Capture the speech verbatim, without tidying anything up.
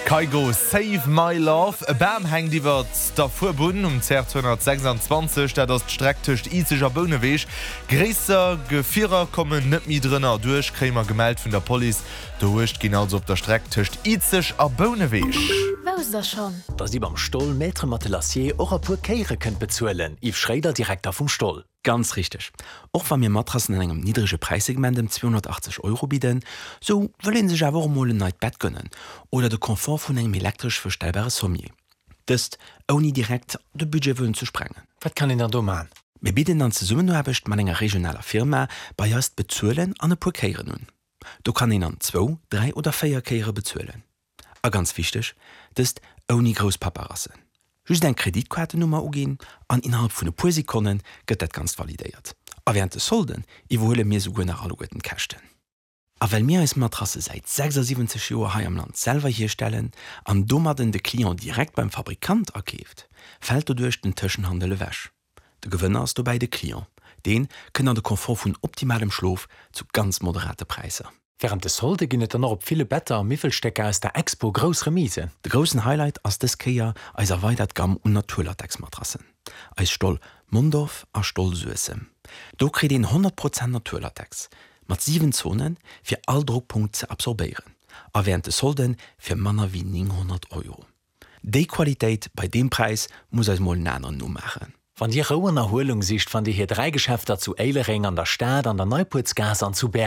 Kygo, Save My Love. E Bam hänkt iwwer der Fuerbunn um C R zweihunnertsechsundzwanzeg, dat ass d'Streck tëscht Izeg a Bouneweg. Gréisser Gefierer kommen net méi drënner duerch, kréie mer gemellt vun der Police. Uecht ginn also op der Streck tëscht Izeg a Bouneweg. Wousst der schonn? Dass Dir beim Stoll Maître Matelassier och a puer Kéiere kënnt bezuelen? Yves Schréider, Direkter vum Stoll. Ganz richteg. Och wa mir Matrassen an engem niddrege Präissegment ëm zweehonnertachtzeg Euro bidden, sou wëll een sech awer och emol en neit Bett gönnen oder de Confort vun engem elektresch verstellbare Sommier. Dëst ouni direkt de Budget wëllen ze sprengen. Wat kann een dann do man? Mir bidden an Zesummenaarbecht mat enger regionaler Firma bei eis d'Bezuelen an e puer Kéieren un. Do kann een an zwou, dräi oder véier Kéiere bezuelen. A ganz wichteg, dëst ouni grouss Paperassen. Just eng Kreditkaartennummer uginn an innerhalb vun e puer Sekonne gëtt dat Ganzt validéiert. A wärend de Solden iwwerhuele mir souguer nach alleguerten d'Käschten. A well mir eis Matrasse säit sechsasiwwenzeg Joer hei am Land selwer hierstellen an domadden de Client direkt beim Fabrikant akeeft, fält doduerch den Tëschenhandel ewech. De Gewënner ass dobäi de Client, dee kënnt an de Confort vun optimalem Schlof zu ganz moderate Präisser. Wärend de Solde ginn et dann och op ville Better a Miwwelstécker aus der Expo grouss Remisen. De groussen Highlight ass dës Kéier eis erweidert Gamm un Naturlatexmatrassen, eis Stoll Mondorf a Stoll Suessem. Do kritt een honnert Prozent Naturlatex mat siwen Zonen, fir all Drockpunkt ze absorbéieren, a wärend de Solde fir manner wéi nénghonnert Euro. Déi Qualitéit bei deem Präis muss eis mol en aneren nomaachen. Wann Dir Rou an Erhuelung sicht, fannt Dir hir dräi Geschäfter zu Éilereng, an der Stad, an der Neipuertsgaass an zu Bäertref.